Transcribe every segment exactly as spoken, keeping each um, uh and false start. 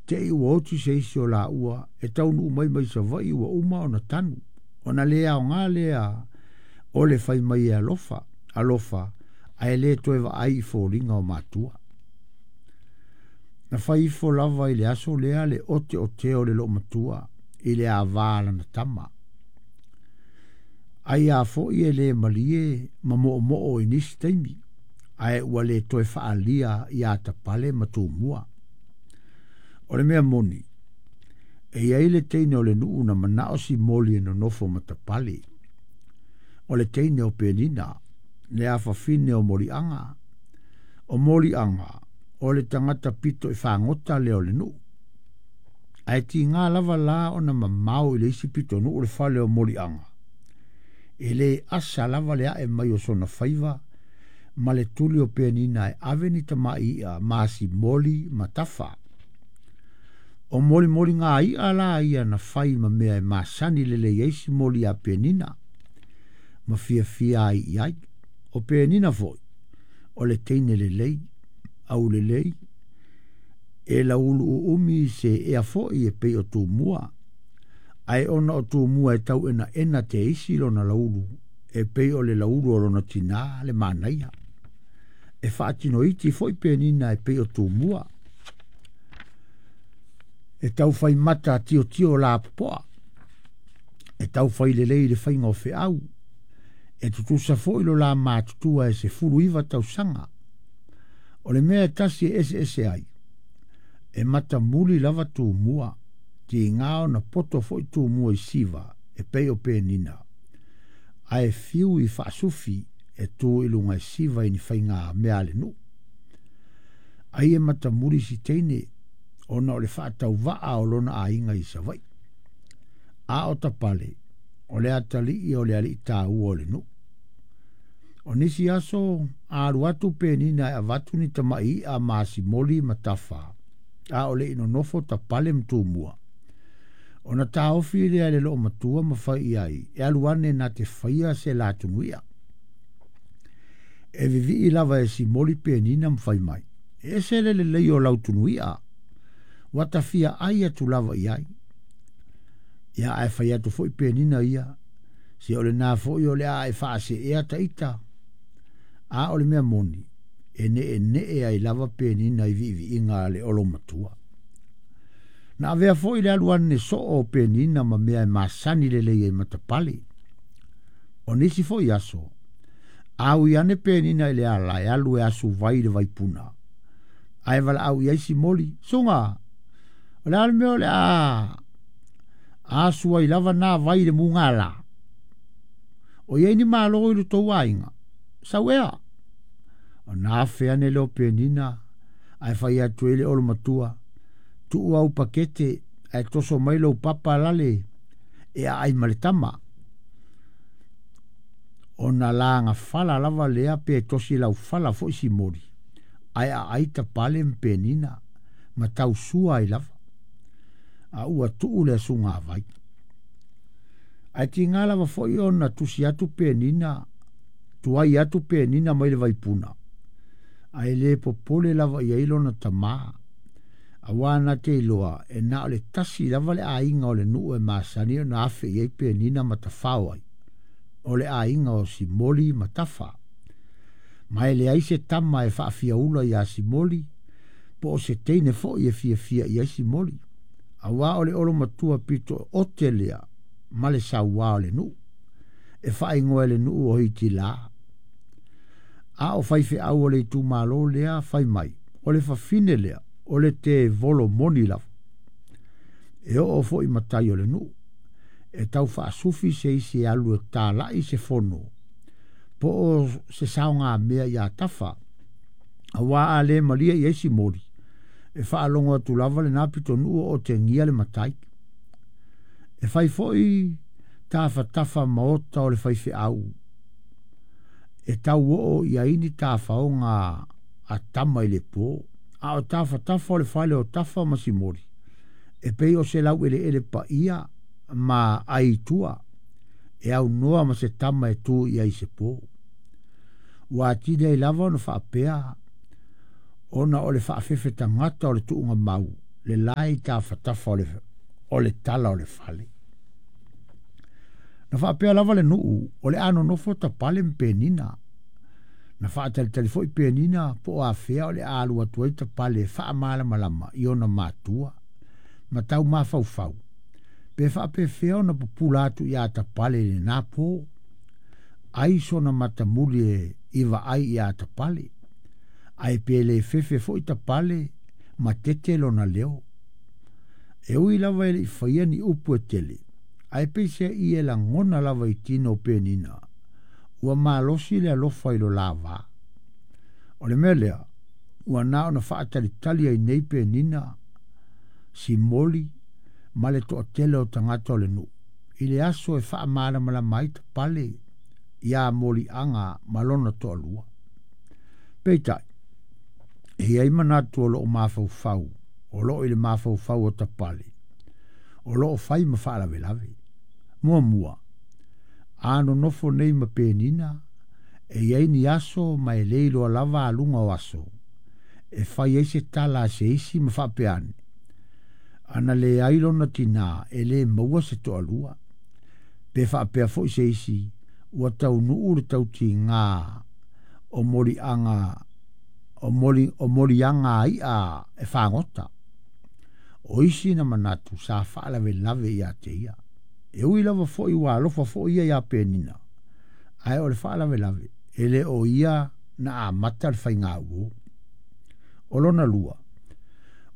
Te i ua oti se isi o la ua e taunu mai mai Savaii ua uma ona tanu. Ona le aoga lea o le fai mai e alofa, alofa, ae le toe vaai i foliga o matua. Na fai ifo lava i le aso lea le ote o teo le loo matua i le avā lana tama. Ai a foi e le malie ma moomoo i nisi taimi, ae ua le toe faalia ia Tapale ma Tumua. O le mea moni, e iai le teine o le nuu na manao Simoli e nonofo ma Tapale. O le teine o Penina, le afafine o Moliaga. O Moliaga, o le tagata pito i fagota lea o le nuu. Ae tiga lava la ona mamao i le isi pitonuu le fale o Moliaga. E le asa lava le ae mai o sona faiva ma le tuli o Penina e ave ni tamai i'a ma Simoli ma Tafa. O molimoli ngā i'a la ia na fai ma mea e masani lelei ai Simoli a Penina, ma fiafia ai i ai. O Penina foi, o le teine lelei, au lelei, e laulu uumi se ea foi e pei o Tumua. Ae ona o Tumua e tau ena ena te isi lona laulu, e pei o le laulu o lona tinā le manaia. E faatino iti foi Penina e pei o Tumua. E tau fai mata tio tio la popoa. E tau fai lelei le fainga o feau. E tutusa foi lo la matutua e se fulu iwa tausaga. O le mea e tasi e ese ese ai. E mata muli lava Tumua. Ti ngā ona poto foi Tumua i siva e pei o Penina. Ae fiu i faasufi e tu i lunga i siva i ni fainga mea le nuu. Ai e mata muli si teine ona o le faatauvaa o lona aiga i Savaii. A o Tapale, o le atalii o le alii tāua o le nuu. O nisi aso a alu atu Penina e avatu ni tamai i'a ma Simoli ma Tafa, a o le nonofo Tapale ma Tumua. Ona taofi lea le loo matua ma fai i ai, e alu ane na te faia se la tunuia. E vivii lava e Simoli Penina ma fai mai. E ese le lelei o lau tunuia, ua tafia ai atu lava i ai. Ia ae fai atu foi Penina ia, se o le nā foi o le a e faase ea ta ita. A o le mea moni, e ne e ne e ai lava Penina i viiviiga a le olo matua. Na avea foi le alu ane soo o Penina ma mea e masani lelei ai matapale. O nisi foi aso, au i ane Penina i le ala e alu e asu vai le vaipuna. Ae wala au i ai Simoli, sunga, o le ale mea o le a asu ai lava nā vai le munga la. O iei ni malo i le tou aiga, sau ea. O nā whea ne leo Penina, ae whai atu e le olo matua, tuu au pakete, ae toso mai lau papa lale, e a ai ma le tama. O nā langa fala lava lea pe tosi lau fala foi Simoli, ae a ai Tapale ma Penina, ma tau sua ai lava. A ua tuu le asunga vai. Ae ti ngā lava foi ona tusi atu Penina, tuai atu Penina mai le vaipuna. Ae le popole lava i ai lona tamā. A wā te iloa, e nā o le tasi lava le aiga o le nuu e masani o na afe i ai Penina ma tafao ai. O le aiga o Simoli ma Tafa. Ma e le ai se tama e faafiaula ia Simoli, po o se teine foi e fiafia i ai Simoli. A wā o le olo matua pito o te lea, ma le sauā o le nuu. E whaingoa e le nuu o hiti la. A o whaiwhe au o le itumalo lea whai mai. O le whawhine lea, o le te volo moni lava. E o o foi matai o le nuu. E tau whaasufi se isi e alu e tālai se fono. Po o se saonga mea ia Tafa. A wā a le malia i ai Simoli. E whaalongo atu lava le nā pito nuu o te ngia le matai. E whai foi tāwhatafa maota o le whaiwhe au. E tau oo i aini tāwhaonga a tama i le pō. A o tāwhatafa o le whale o Tafa ma Simoli. E pei o se lau ele ele pa ia ma aitua. E au noa ma se tama e tū i ai se pō. Ua atine ai lava ona whaapea ona o le whaafefe tangata o le tuunga mau. Le lae tafatafa o le, o le tala o le fale. Na faapea lava le nuu o le a nonofo Tapale ma Penina. Na faatalitali foi Penina po o afea o le a alu atu ai Tapale e faamalamalama i ona matua ma tau mafaufau. Pe faapefea ona pupula atu iā Tapale i lenā pō. Ai sona matamuli e i vaai iā Tapale. Ae pe le fefe foi Tapale ma tete lona leo. E ui lava e le'i faia ni upu e tele. Ae peiseai e lagona lava i tino o Penina. Ua malosi le alofa i lo la vā. O le mea lea, ua na ona faatalitali ai nei Penina, simoli ma le toatele o tagata o le nuu. I le aso e faamalamalama ai Tapale iā moliaga ma lona toalua. Peitai, e i ai manatu o loo mafaufau, o loo i le mafaufau o Tapale, o loo fai ma faalavelave. Muamua, a nonofo nei ma Penina, e i ai ni aso ma e le iloa lava aluga o aso, e fai ai se tala a se isi ma faapea ane. Ana leai lona tinā e lē maua se toalua. Pe faapea foi se isi, ua taunuu le tautigā o moliaga o moli o moliaga i'a e fagota. O isi na manatu sa faalavelave ia te ia. E ui lava foi ua alofa foi ia iā Penina. Ae o le faalavelave, e le o ia na amata le faigā uō. O lona lua,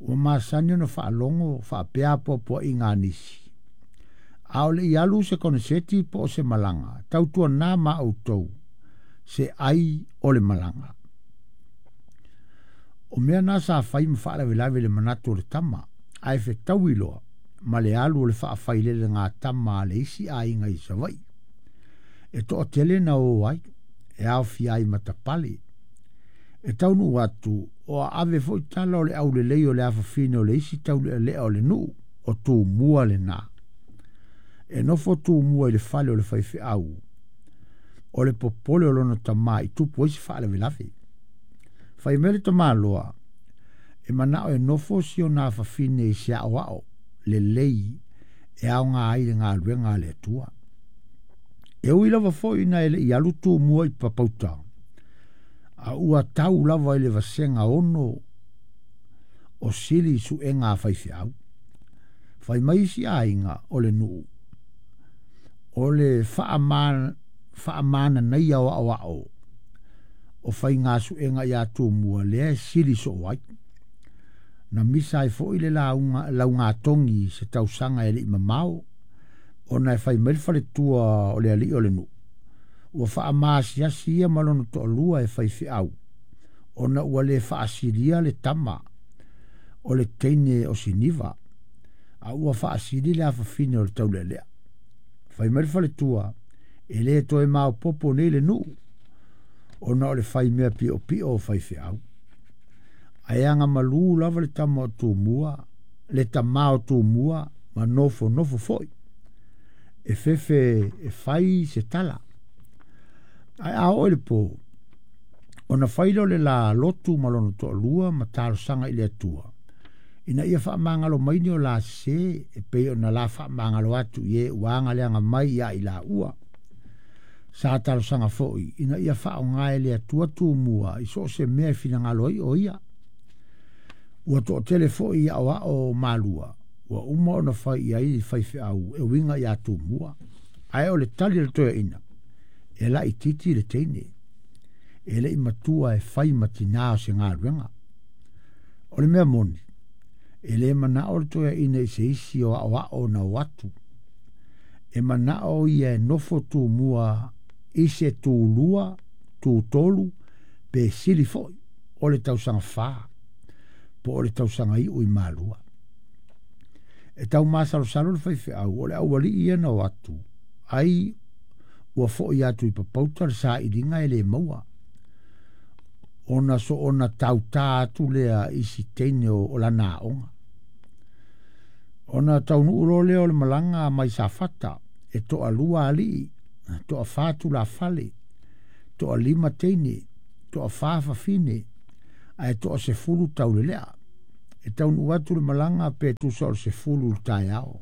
ua masani ona faalogo faapea apoapoaiga a nisi. A o le'i alu se koneseti po o se malaga, tautuanā ma outou se ai o le malaga. O mea na sa fai ma faalavelave i le manatu o le tama, ae fetaui loa ma le alu o le faafailelega tama a le isi aiga i Savaii. E toatele na o ai, e aofia ai ma Tapale. E taunuu atu o aave foi tala o le aulelei o le afafine o le isi taulealea o le nuu o Tumua lenā. E nofo Tumua i le fale o le faifeau. O le popole o lona tamā i tupu ai se faalavelave. Fai mai le tamaloa, e manao e nofo si ona afafine i se aoao lelei e aoga ai le galuega a le Atua. E ui lava foi ina e le'i alu Tumua i Papauta, a ua tau lava i le vasega ono o sili i suega a faifeau. Fai mai isi aiga o le nuu, o le faamananaia o aoao o faiga suega iā Tumua lea e sili soo ai. Na misa ai foi le lauga, laugatogi i se tausaga e le'i mamao, ona e fai mai le faletua o le alii o le nuu. Ua faamaasiasi ia ma lona toalua e faifeau, ona ua le faasilia le tama o le teine o Siniva, a ua faasili le afafine o le taulealea. Fai mai le faletua, e lē toe maopoopo nei le nuu, ona o le fai mea piopio o faifeau. Ae agamalū lava le tama o Tumua, le tamā o Tumua ma nofonofo foi. E fefe e fai se tala. Ae a oo i le pō, ona fai lea o le la lotu ma lona toalua ma talosaga i le Atua. Ina ia faamagalo mai ni o la sesē e pei ona la faamagalo atu i e ua agaleaga mai ia i laua. Sa talosaga foi ina ia faaaoga e le Atua Tumua i so o se mea e finagalo ai o ia. Ua toatele foi aoao o Malua ua uma ona fai i ai faifeau e uiga iā Tumua. Ae o le tali a le toeaina, e laitiiti le teine. E le'i matua e fai ma tinā o se galuega. O le mea moni, e lē manao le toeaina i se isi o aoao na o atu. E manao ia e nofo Tumua i se tulua, tutolu, pe sili foi o le tausaga fā, po o le tausaga iu i Malua. E tau masalosalo le faifeau o le aualii ia na o atu, ai ua foi atu i Papauta le sailiga e lē maua. Ona soona tautā atu lea i si teine o, o lana aoga. Ona taunuu loa lea o le malaga mai Safata, e toalua alii, toafā tulafale, toalima teine, toafā fafine, ae toasefulu taulelea. E taunuu atu le malaga pe tusa o le sefulu i le taeao.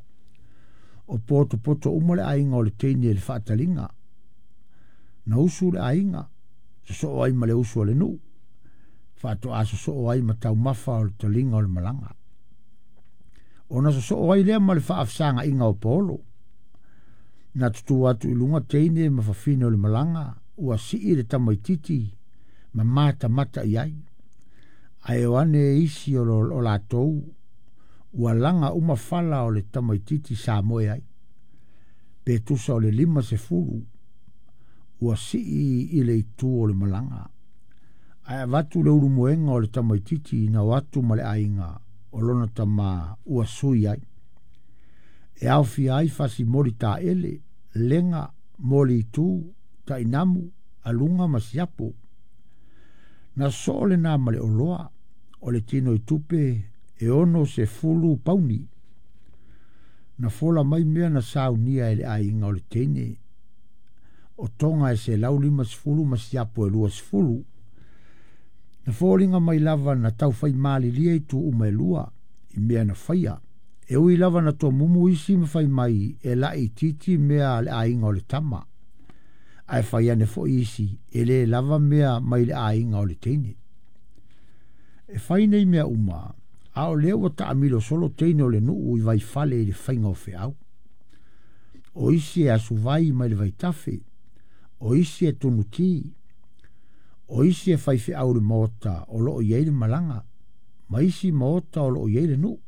O potopoto uma le aiga o le teine i le faataliga. Na usu le aiga, sosoo ai ma le usu a le nuu, faatoa sosoo ai ma taumafa o le taliga o le malaga. Ona sosoo ai lea ma le faafesagaiga o Paolo. Na tutū atu i luga teine ma fafine o le malaga, ua sii le tamaititi ma matamata i ai. Ae o ane isi o, lo, o latou, ua laga uma fala o le tamaititi sa moe ai. Pe tusa o le lima sefulu, ua sii i le itu o le malaga. Ae avatu le ulumoega o le tamaititi na o atu ma le aiga o lona tamā ua sui ai. E aofia ai fasimoli taele, lega, moli itu, tainamu, aluga ma siapo. Na soo lenā ma le oloa, o le tino i tupe e ono sefulu pauni. Na fola mai mea na saunia e le aiga o le teine. O tonga e selau lima sefulu ma siapo e lua sefulu. Na foliga mai lava na taufai malilie i tu uma e lua, i mea na faia. E ui lava na tomumu isi ma fai mai e laititi mea a le aiga o le tama. Ae fai ane foi isi e lē lava mea mai le aiga o le teine. E fai nei mea uma, a o lea ua taamilo solo teine o le nuu i vaifale i le faiga o feau. O isi e asuvai mai le vaitafe, o isi e tunutī, o isi e fai feau le maota o loo i ai le malaga, ma isi maota o loo i ai le nuu.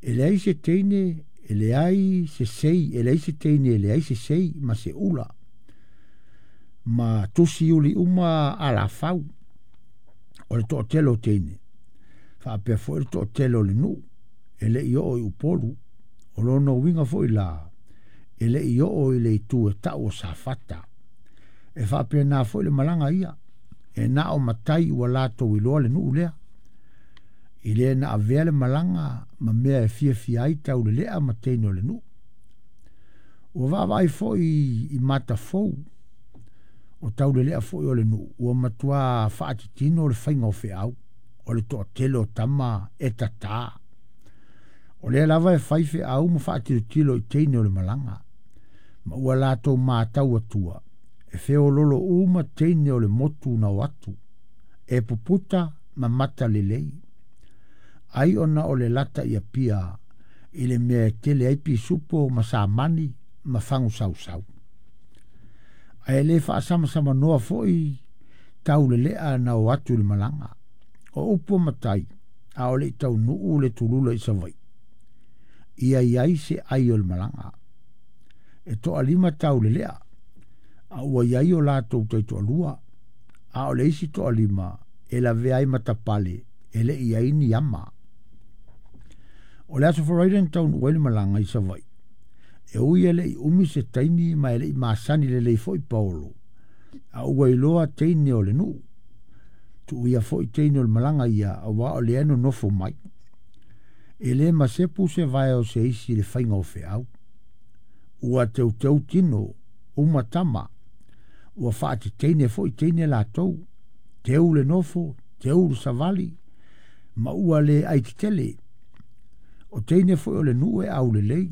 E leai se teine, e leai se sei, e leai se teine, e leai se sei ma se ula. Ma tusi uli uma alafau o le toatele o teine. Faapea foi le toatele o le nuu, e lei oo i Upolu, o lona uiga foi la, e lei oo i le itu e tau o Safata. E faapena foi le malaga ia, e na o matai ua latou iloa le nuu lea. I le na avea le malaga ma mea e fiafia ai taulelea ma teine o le nuu. Ua vaavaai foi i matafou o taulelea foi o le nuu, ua matua faatitino le faiga o feau, o le toatele o tama e tatā. O lea lava e fai feau ma faatilotilo i teine o le malaga, ma ua latou matau atua, e feololo uma teine o le motu na o atu, e puputa ma mata lelei. Ai ona o le lata i Apia, i le mea e tele ai pisupo ma samani ma fagu sausau. Ae le faasamsamanoa foi taulelea na o atu i le malaga. O upu o matai, a o le i taunuu le tulula i Savaii. Ia iai se ai o le malaga. E toalima taulelea, a ua iai o latou taitoalua, a o le isi toalima e lavea ai matapale e le i ai ni ama. O le aso Faraire na taunuu ai le malaga i Savaii. E ui e le i umi se taimi ma e le i masani lelei foi Paolo, a ua iloa teine o le nuu. Tuuia foi teine o le malaga ia, auā o lea e nonofo mai. E lē masepu se vae o se isi i le faiga o feau. Ua teuteu tino, uma tama, ua faateteine foi teine latou, teu le nofo, teu le savali, ma ua le aitetele. O teine foi o le nuu e aulelei,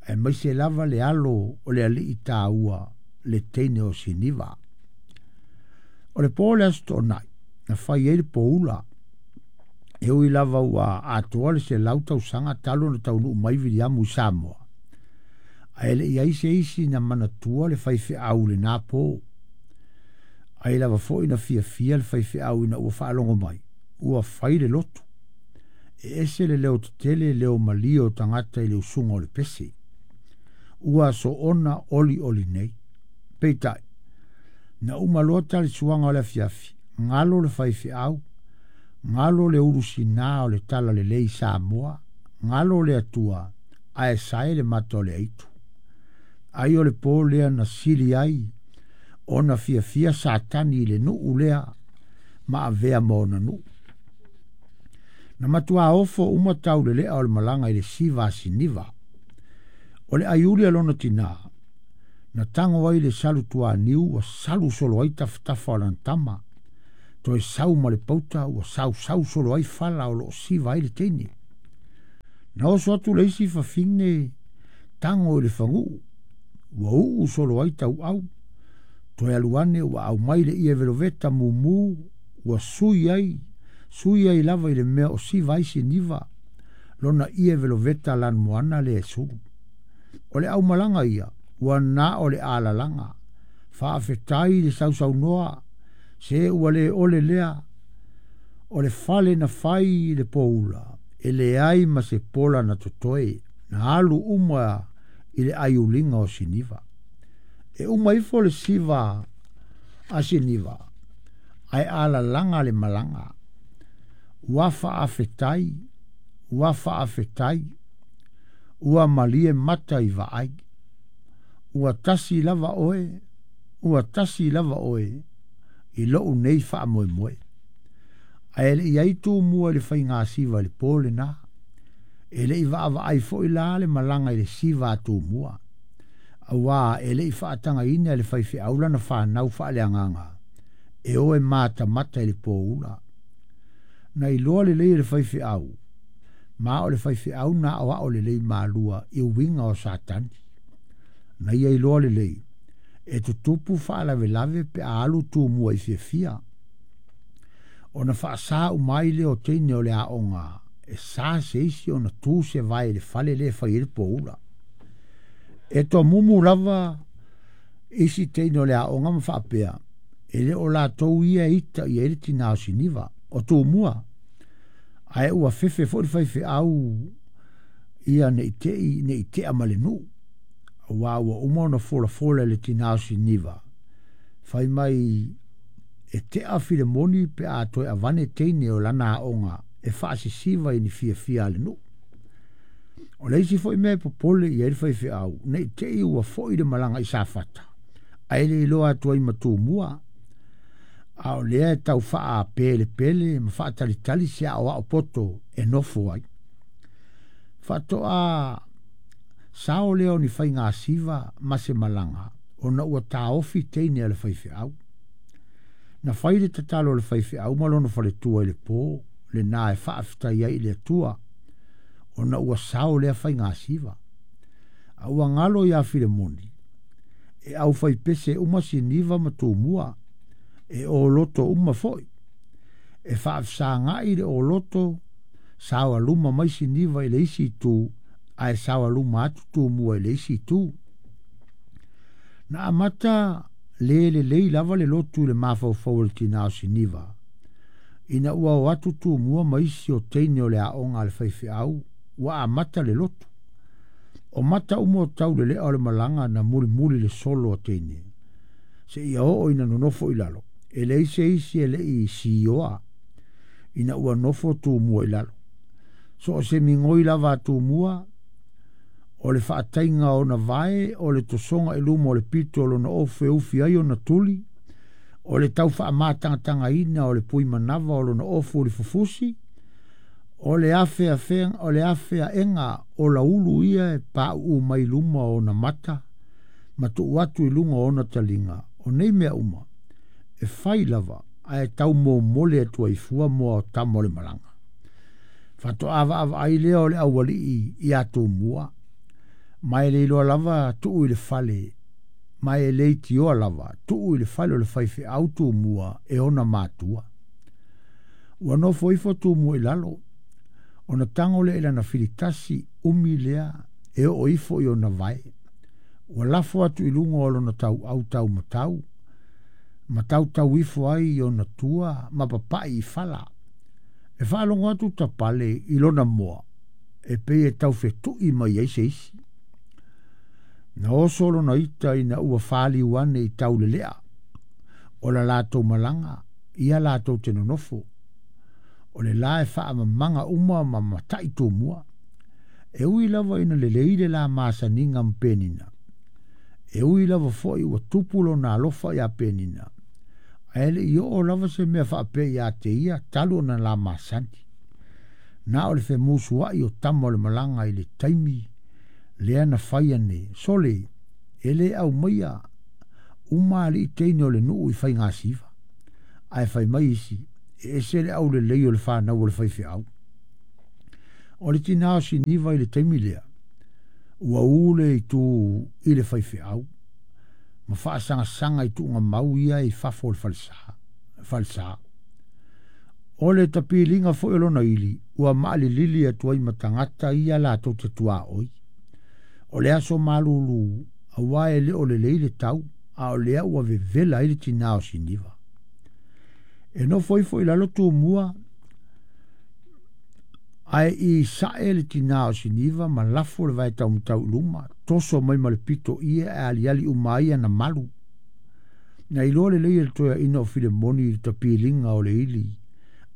aemaise lava le alo o le alii taua le teine o Siniva. O le po o le aso Toonai, na fai ai le poula. E ui lava ua atoa le selau tausaga talu ona taunuu mai Viliamu i Samoa. Ae le i ai se isi na manatua le faifeau i lenā po. Ai lava foi na fiafia le faifeau ina ua faalogo mai, ua fai le lotu. E ese le leo tetele leo malie o tagata i le usuga o le pese. Ua soona olioli nei. Peitai, na uma loa talisuaga o le afiafi, galo le faifeau, galo le ulusinā o le talalelei i Samoa, galo le Atua, ae sae le mata o le aitu. Ai o le po lea na sili ai, ona fiafia Satani i le nuu lea, ma avea ma ona nuu. Na matua ofo uma taulelea o le malaga i le siva a Siniva. O le aiuli a lona tinā, na tago ai le salu tuaniu ua salu solo ai tafatafa o lana tama. Toe sau ma le pauta ua sausau solo ai fala o loo siva ai le teine. Na oso atu le isi fafine tago i le faguu ua uu solo ai tauau. Toe alu ane ua aumai le ie veloveta mumu ua sui ai sui ai lava i le mea o siva ai siniva lona ie veloveta lanumoana le sulu. O le aumalaga ia ua na o le alalaga faafetai le sausaunoa se ua le ole lea o le fale na fai le poula e leai ma se pola na totoe na alu uma i le aiuliga o siniva. E uma ifo le siva a siniva ae alalaga le malaga ua faafetai ua faafetai ua malie mata i vaai ua tasi lava oe ua tasi lava oe i lou nei faamoemoe. Ae le i ai tumua i le faigasiva i le po lena e le i vaavaai foi la le malaga i le siva a tumua auā e le i faatagaina e le faifeau lana fanau faaleagaga e o e matamata i le poula. Na iloa lelei e le faifeau ma o le faifeau na aoao lelei malua i uiga o Satani. Na ia iloa lelei e tutupu faalavelave pe a alu tumua i fiafia. Ona faasā uma ai lea o teine o le aoga e sa se isi ona tu se vae i le fale lea e fai ai le poula. E tomumu lava isi teine o le aoga ma faapea e le o latou ia ita i ai le tinā o siniva o tumua. Ae ua fefe foi le faifeau ia nei tei nei tea ma le nuu. Auā ua uma ona folafola i le tinā o siniva fai mai e tea Filemoni pe a toe avane teine o lana aoga e faasisiva i ni fiafia a le nuu. O le isi foi mea e popole i ai le faifeau nei tei ua foi le malaga i Safata ae le iloa atu ai ma tumua. A o lea e tau faapelepele ma faatalitali se aoao poto e nofo ai. Faatoa sao lea o ni faigasiva ma se malaga ona ua taofi teine a le faifeau. Na fai le tatalo a le faifeau ma lona faletua i le po lena e faafetai ai i le Atua ona ua sao lea faigasiva. A ua galo ia Filemoni e aufaipese uma siniva ma tumua e oloto uma foi. E faafesagai le oloto saoaluma mai siniva i le isi itu ae saoaluma atu tumua i le isi itu. Na amata le lelei lava le lotu i le mafaufau o le tinā o siniva ina ua o atu tumua ma isi o teine o le aoga a le faifeau ua amata le lotu. O mata uma o taulelea o le malaga na mulimuli le solo a teine seia oo ina nonofo i lalo e leai se isi e lei sioa ina ua nofo tumua i lalo. So o se migoi lava a tumua o le faataiga ona vae o le tosoga i luma o le pito o lona ofu e ufi ai ona tuli o le tau faamatagatangaina o le pui manava o lona ofu o le fufusi o le afeafea o le afeaega o laulu ia e pauu mai luma o ona mata ma tuu atu i luga o ona taliga. O nei mea uma e fai lava ae taumomole atu ai fua moa o tama o le malaga. Faatoa vaavaai lea o le aualii ia tumua ma e le iloa lava tuu i le fale ma e le itioa lava tuu i le fale o le faifeau tumua e ona matua. Ua nofo ifo tumua i lalo ona tago lea i lana filitasi umi lea e oo ifo i ona vae. Ua lafo atu i luga o lona tauau taumatau ma tautau ifo ai i ona tua ma papai i fala. E faalogo atu tapale i lona moa e pei e taufetui mai ai se isi. Na oso lona ita ina ua faliu ane i taulelea o la latou malaga ia latou te nonofo. O le la e faamamaga uma ma matai tumua. E ui lava ina lelei le la masaniga ma Penina. E ui lava foi ua tupu lona alofa ia Penina. Ae le i oo lava se mea faapea ia te ia talu ona la masani. Na o le femusuai o tama o le malaga i le taimi lea na fai ane sole e le aumaia uma alii teine o le nuu i faigasiva. Ae fai mai isi, e ese le aulelei o le whanau o le faifeau. O le tinā o Siniva i le taimi lea, ua ule i tū i le faifeau, ma faasagasanga i tuuga mau ia i fafo o le falesa. falesa. O le tapiliga foi o lona ili, ua maalilili atu ai ma tagata ia latou te tuaoi. O le aso malulu, auā e le o lelei le tau, a o lea ua vevela ai le tinā o Siniva. E nofo ifo i lalo Tumua, ae i sae le tinā o Siniva ma lafo le vae taumatau i luma, toso mai ma le pito ia e aliali uma ai ana malu. Na iloa lelei e le toeaina o Filemoni i le tapiliga o le ili,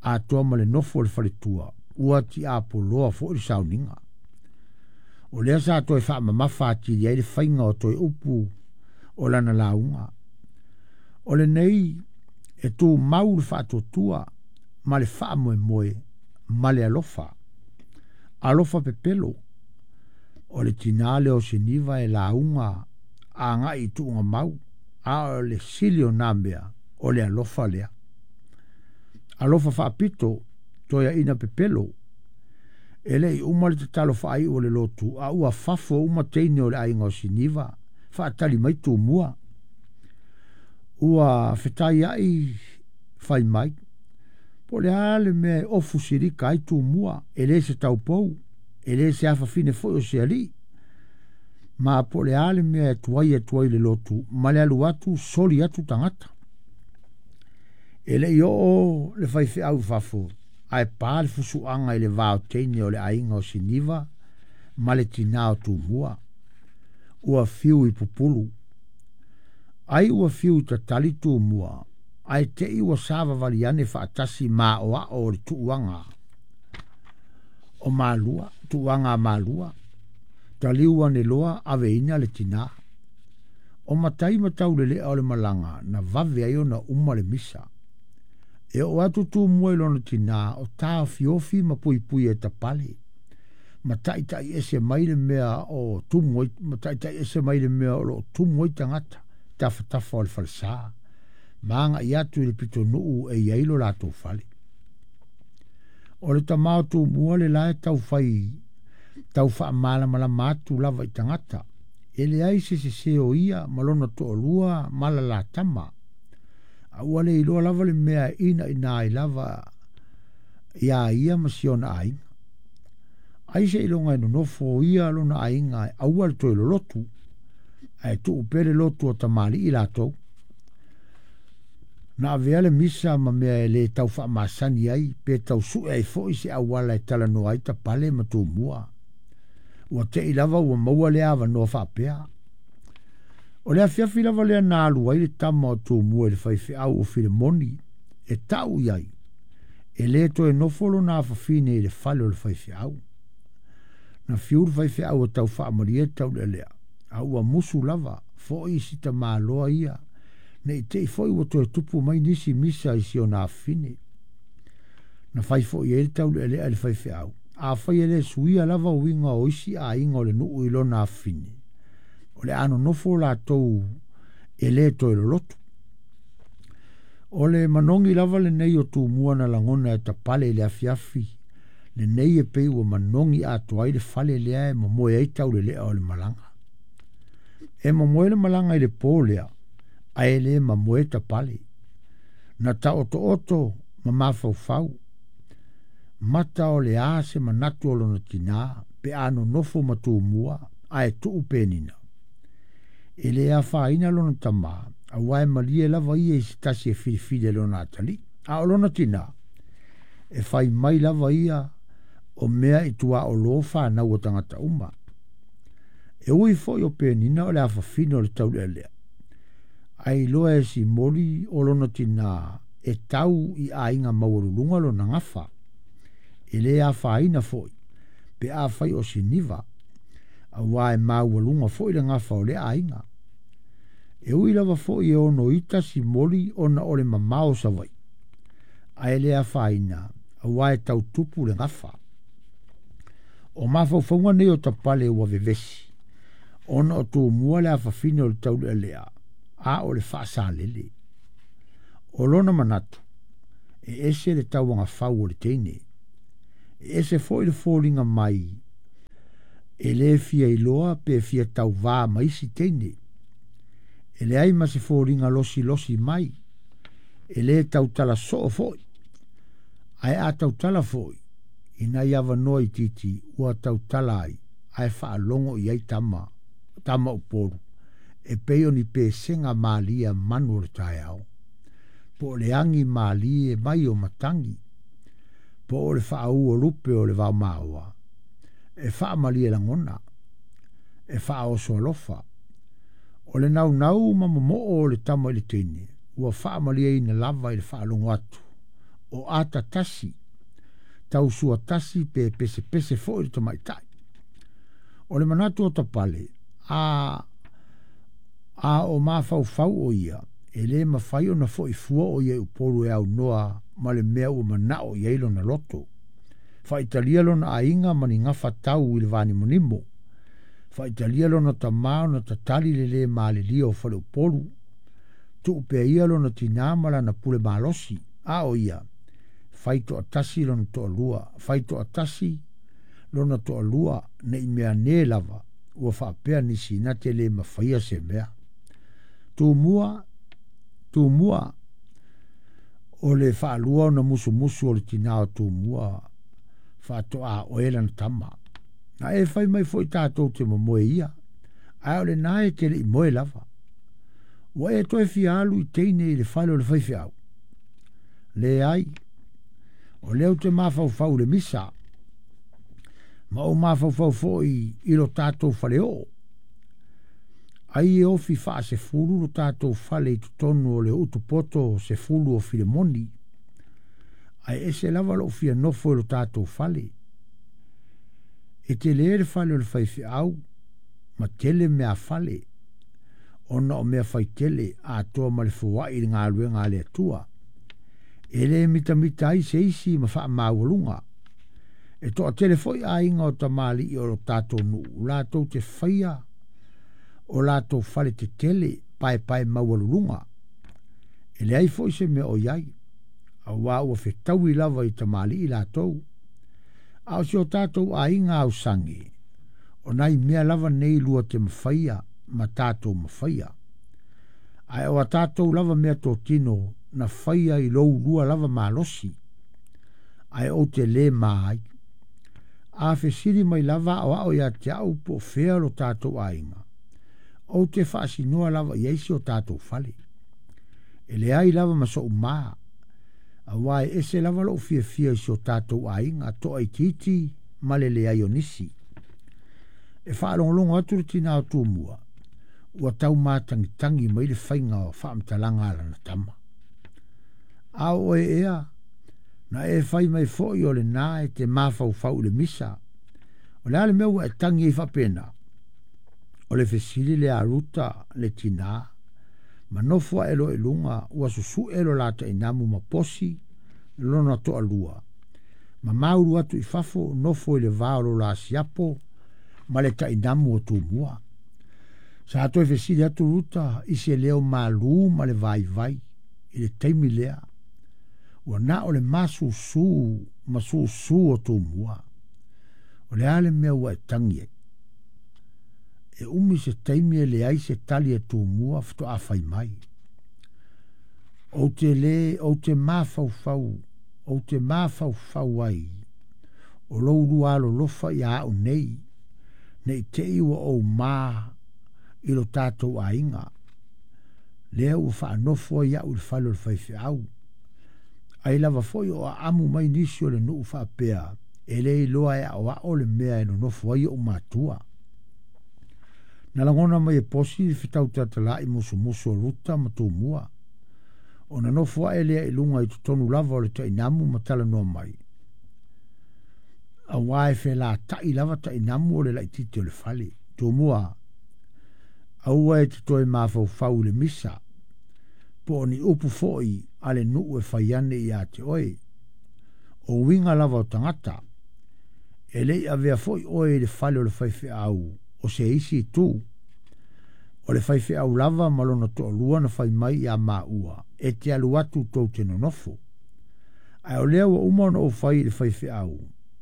atoa ma le nofo o le faletua, ua tiapoloa foi le sauniga. O lea sa toe faamamafa atili ai le faiga o toe upu o lana lauga. O lenei e tumau le faatuatua ma le faamoemoe ma le alofa. Alofa pepelo. O le tinā lea o Siniva e lauga agai i tuuga mau, a o le sili o nā mea o le alofa lea. Alofa faapito, toeaina pepelo. E le i uma le tatalo faaiu o le lotu, a ua fafo uma teine o le aiga o Siniva, faatali mai Tumua. Ua fetaiai fai mai, po o le a le mea e ofu silika ai Tumua, e le se taupou, e le se afafine foi o se alii. Ma po o le a le mea e tuai atu ai le lotu, ma le alu atu soli atu tagata. E le i oo le faifeau i fafo, ae pa le fusuaga i le va o teine o le aiga o Siniva ma le tinā o Tumua. Ua fiu i pupulu. Ai ua fiu i tatali Tumua, ae tei ua savavali ane faatasi maoao o le tuuaga o Malua, tuuaga a Malua. Taliu ane loa aveina le tinā. O matai ma taulelea o le malaga na vave ai ona uma le misa. E oo atu Tumua i lona tinā o taofiofi ma puipui e tapale. Ma taitai ese mai le mea o tumu ai, ma taitai ese mai le mea o loo tumu ai tagata, tafatafa o le falesa. Ma agai atu i le pitonuu e i ai lo latou fale. O le tama o Tumua le la e taufai, tau faamalamalama atu lava i tagata. E leai se sese o ia ma lona toalua ma la tama. A ua le iloa lava le mea e ina ina ai lava ia ia ma si ona aiga. Ai se iloga e nonofo o ia lona aiga e aua le toe lolotu, ae tuu pea le lotu o tamalii latou. Na avea le misa ma mea e le tau faamasani ai, pe tau sue ai foi se auala e talanoa ai Tapale ma Tumua. Ua tei lava ua maua le avanoa faapea. O le afiafi lava lea na alu ai le tama o Tumua i le faifeau o Filemoni, e tau i ai, e le toe nofo lona afafine i le fale o le faifeau. Na fiu le faifeau e tau faamalie taulealea, a ua musu lava foi i si tamaloa ia, nei tei foi ua toe tupu mai nisi misa i si ona afafine. Na fai foi ai le taulealea i le faifeau, afai e le suia lava uiga o isi aiga o le nuu i lona afafine. O le a nonofo latou e le toe lolotu. O le manogi lava lenei o Tumua na lagona e Tapale i le afiafi, lenei e pei ua manogi atoa ai le fale lea e momoe ai taulelea o le malaga. E momoe le malaga i le pō lea, ae le mamoe Tapale. Na taotooto ma mafaufau, mata o le a se manatu o lona tinā, pe a nonofo ma Tumua, ae tuu penina. E le afaina lona tamā, auā e malie lava ia i se tasi e filifili e lona atalii. A o lona tinā, e fai mai lava ia o mea i tuaolo whanau o tagata uma. E ui foi o penina o le afafine o le taulealea. Ai loa e simoli o lona tinā e tau i aiga maualuluga lona gafa. E le afaina foi, pe afai o Siniva, auā e maualuga foi le gafa o lea aiga. E ui lava foi e ono ita simoli ona o le mamao Savaii. Ae le afaina, auā e tautupu le gafa. O mafaufauga nei o Tapale ua vevesi, ona o Tumua le afafine o le taulealea, a o le faasalele. O lona manatu, e ese le tauagafau o le teine. E ese foi le foliga mai, e lē fia iloa pe fia tauvā ma isi teine. E leai ma se foliga losilosi mai, e lē tautala soo foi. Ae a tautala foi, ina ia avanoa itiiti ua tautala ai, ae faalogo i ai tama, tama Upolu, e pei o ni pesega malie a manu o le taeao, po o le agi malie mai o matagi, po o le faaū o lupe o le vaomaoa, e faamalie lagona, e faaoso alofa. O le naunau ma momoo o le tama i le teine, ua faamalieina lava i le faalogo atu, o ata tasi, tausua tasi pe pesepese foi le tamaitai. O le manatu o Tapale, a, a o mafaufau o ia, e lē mafai ona fo'i fua o ia i Upolu e aunoa ma le mea ua manao i ai lona loto. Faaitalia lona aiga ma ni gafa tau i le vanimonimo. Faaitalia lona tamā ona tatali le lē malilia o faleupolu. Tuu pea ia lona tinā ma lana pule malosi. A o ia, fai toatasi lona toalua, fai toatasi lona toalua, ne i mea ne lava, ua faapea nisi na te lē mafaia se mea. Tumua, Tumua, o le faalua ona musumusu o le tinā o Tumua, faatoa oe lana tama. Na e fai mai foi tatou te momoe ia, ae o lenā e te le'i moe lava. Ua e toe fia alu i teine i le fale o le faifeau. Leai, o lea ou te mafaufau i le misa, ma ou mafaufau foi i lo tatou faleoo. Ai e ofi faasefulu lo tatou fale i totonu o le utupoto sefulu o Filemoni. Ae ese lava lou fia nofo i lo tatou fale. E telē le fale o le faifeau, ma tele mea fale, ona o mea faitele atoa ma le foai i le galuega a le Atua. E lē mitamita ai se isi ma faamaualuga. E toatele foi aiga o tamalii o lo tatou nuu, latou te faia o latou fale tetele paepae maualuluga. E leai foi se mea o i ai, auā ua fetaui lava i tamalii latou. A o si o tatou aiga ausage, o nai mea lava nei lua te mafaia ma tatou mafaia. Ae o a tatou lava mea totino na faia i lou lua lava malosi, ae ou te lē ma ai. A fesili mai lava o ao ia te au po o fea lo tatou aiga, ou te faasinoa lava i ai si o tatou fale. E leai lava ma so'u mā, auā e ese lava lo'u fiafia i si o tatou aiga toaitiiti ma le leai o nisi. E faalogologo atu le tinā o Tumua, ua tau matagitagi mai le faiga o faamatalaga a lana tama. A o oe ea, na e fai mai foi o lenā e te mafaufau i le misa. O le a le mea ua e tagi ai faapena? O le fesili lea a Ruta le tinā, ma nofo ae loa i luga ua susu'e lo la tainamu ma posi lona toalua. Ma maulu atu i fafo nofo i le va o lo la siapo ma le tainamu o Tumua. Sa toe fesili atu Ruta i se leo malū ma le vaivai i le taimi lea. Ua na o le masusū ma susū o Tumua. O le a le mea ua e tagi ai? E umi se taimi e leai se tali a Tumua faatoa fai mai. Ou te lē, ou te mafaufau, ou te mafaufau ai, o lou lua alolofa ia a'u nei, ne i te i ua ou mā i lo tatou aiga. Lea ua faanofo ai a'u i le fale o le faifeau. Ai lava foi o aamu mai nisi o le nuu faapea, e lē iloa e aoao le mea e nonofo ai o'u matua. Na lagona mai e Posi le fetautatalai musumusu o Ruta ma Tumua. Ona nofo ae lea i luga i totonu lava o le tainamu ma talanoa mai. Auā e felata'i lava tainamu o le laitiiti o le fale. Tumua, aua e te toe mafaufau i le misa, po o ni upu foi a le nuu e fai ane iā te oe. O uiga lava o tagata, e le'i avea foi oe i le fale o le faifeau o se isi itu. O le faifeau lava ma lona toalua na fai mai iā maua. E te alu atu tou te nonofo. Ae o lea ua uma ona ou fai i le faifeau,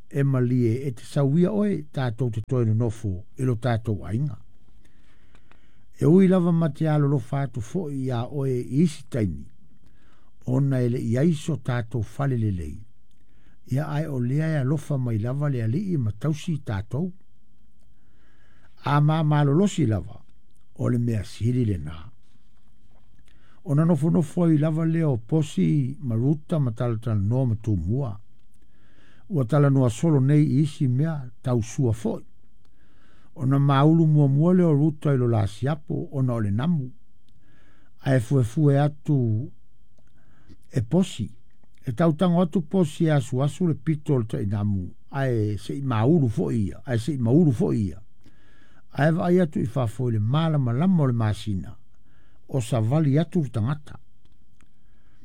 e malie e te sauia oe tatou te toe nonofo i lo tatou aiga. E ui lava ma te alolofa atu foi iā oe i isi taimi, ona e le'i ai so tatou fale lelei. Ia ae o lea e alofa mai lava le Alii ma tausi tatou. A mamalolosi lava, o le mea sili lenā. Ona nofonofo ai lava lea o Posi ma Ruta ma talatalanoa ma Tumua. Ua talanoa solo nei i isi mea tau sua foi. Ona maulu muamua lea o Ruta i lo la siapo ona o le namu. Ae fuefue atu e Posi. E tautago atu Posi e asuasu le pito o le tainamu. Ae se'i maulu foi ia. Ae se'i maulu foi ia. Ae vaai atu i fafo i le malamalama o le masina. O savali atu le tagata.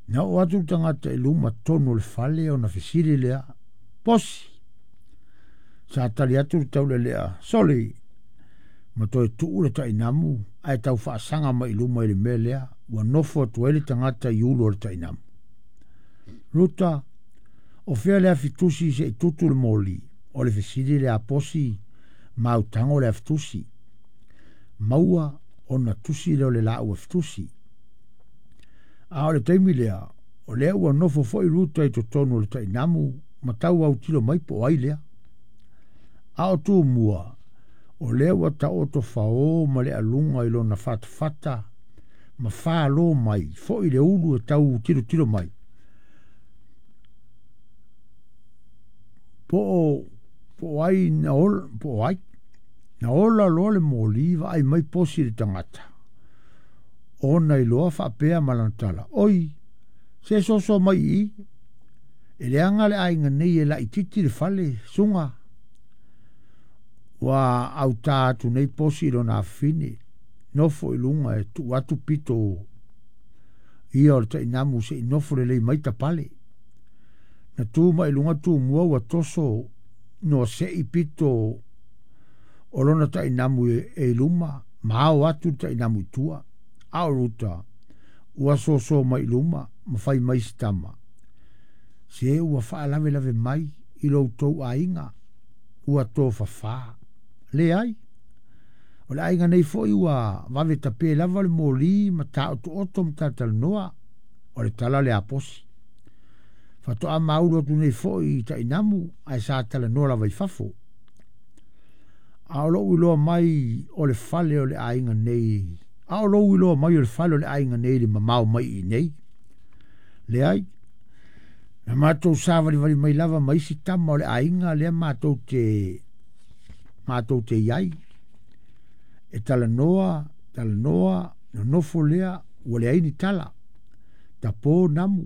Na oo atu le tagata i luma tonu o le fale ona fesili lea. Posi! Sa tali atu le taulelea. Soli! Ma toe tuu le tainamu ae tau faasaga mai i luma i le mea lea. Ua nofo atu ai le tagata i ulu o le tainamu. Ruta, o fea le afitusi se'i tutu le moli. O le fesili lea a Posi ma autago le afitusi. Maua ona tusi lea o le laau afitusi. A o le taimi lea, o lea ua nofo foi Ruta i totonu o le tainamu ma tau autilo mai po o ai lea. A o Tumua, o lea ua taoto faō ma le aluga i lona fatafata ma fālō mai foi le ulu e tau tilotilo mai. Po o, po o ai na ola, po o ai. Na ola loa le moli vaai mai Posi i le tagata. Ona iloa faapea ma lana tala. Oi, se soso mai i i. E leaga le aiga nei e laitiiti le fale, suga. Ua autā atu nei Posi i lona afafine. Nofo i luga e tuu atu pito ia o le tainamu se'i nofo lelei mai tapale. Na tu mai i luga Tumua ua toso noa se'i pito o lona tainamu e, e i luma, ma ao atu le tainamu i tua. A o Ruta, ua soso mai i luma, ma fai mai si tama. Se ua faalavelave mai i lo outou aiga, ua tofafā. Leai, o le aiga nei foi ua vave tapē lava le moli ma taotooto ma talatalanoa, o le tala lea a Posi. Faatoa maulu atu nei foi i tainamu, ae sa talanoa lava i fafo. A o lou iloa mai o le fale o le aiga nei, a o lou iloa mai o le fale o le aiga nei i le mamao mai i nei. Leai, na matou savalivali mai lava ma isi tama o le aiga lea matou te, matou te iai. E talanoa, talanoa, nonofo lea, ua leai ni tala. Tapō namu.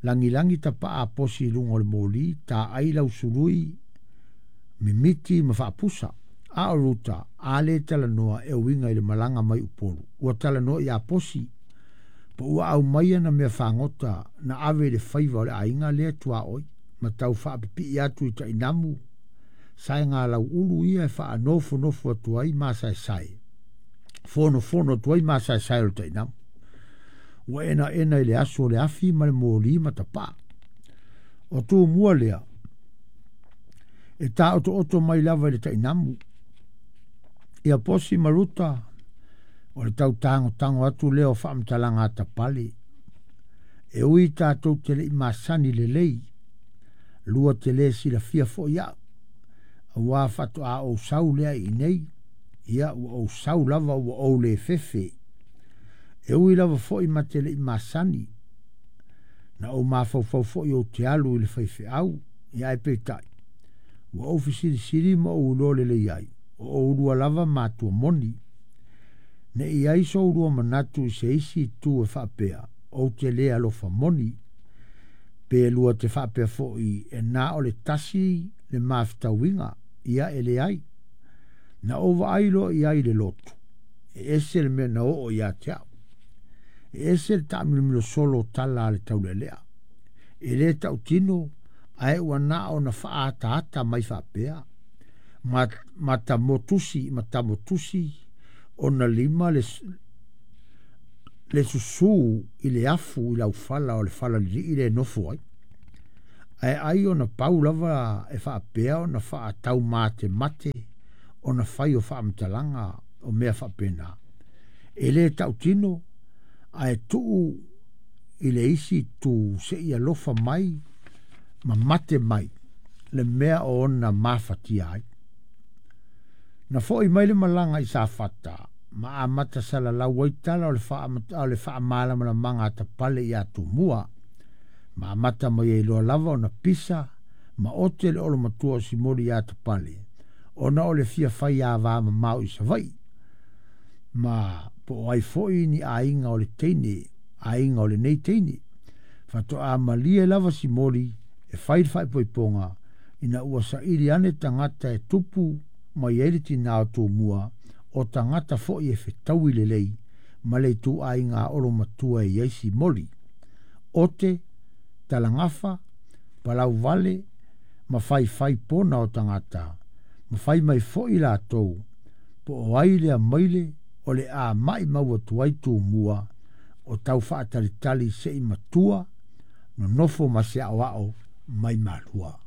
Lagilagi tapa'a a Posi i luga o le moli, taai lausului, mimiti ma faapusa. A o Ruta, a le talanoa e uiga i le malaga mai Upolu. Ua talanoa iā Posi, po ua aumaia na mea fagota na ave i le faiva o le aiga lea tuaoi, ma tau faapipii atu i tainamu, saega lauulu ia e faanofonofo atu ai masaesae. Fonofono atu ai masaesae o le tainamu. Ua enaena i le aso o le afi ma le moli ma tapa'a. O Tumua lea, e taotooto mai lava i le tainamu. Ia Posi ma Ruta, o le tau tagotago atu lea o faamatalaga a tapale. E ui tatou te le'i masani lelei, lua te lē silafia foi a'u. Auā faatoā ou sau lea i inei, ia ua ou sau lava ua ou lē fefe. E ui lava foi ma te le'i masani, na ou mafaufau foi ou te alu i le faifeau, ia ae peitai. Ua ou fesilisili ma ou iloa lelei ai, o oulua lava matua moni. Ne'i ai so oulua manatu i se isi itu e faapea, ou te lē alofa moni. Pe lua te faapea foi e na o le tasi le mafetauiga, ia e leai. Na ou vaai loa i ai i le lotu, e ese le mea na oo iā te a'u. E ese le taamilomilo solo o tala a le taulelea. E lē tautino, ae ua na ona faaataata mai faapea. Ma, ma tamotusi, ma tamotusi ona lima le, Le susū i le afu i laufala o le fala lilii le nofo ai. Ae ai ona pau lava e faapea ona faataumatemate ona fai o faamatalaga o mea faapena. E lē tautino ae tuu i le isi itu seʻi alofa mai ma mate mai le mea o ona mafatia ai. Na foʻi mai le malaga i Safata ma amata salalau ai tala o le faamalamalamaga a Tapale iā Tumua ma amata mai ai loa lava ona pisa ma ote le olomatua o Simoli iā Tapale ona o le fia fai avamamao i Savaii ma po o ai foi ni aiga o le teine aiga o lenei teine. Faatoa malie lava Simoli e fai le faaipoipoga ina ua saili ane tagata e tupu mai ai le tinā o Tumua o tagata foi e fetaui lelei ma le ituaiga olomatua e i ai Simoli. Ote, talagafa, palauvale ma faifai pona o tagata ma fai mai foi latou po o ai lea maile o le a maʻimau atu ai Tumua o tau faatalitali seʻi matua nonofo ma se aoao mai Malua.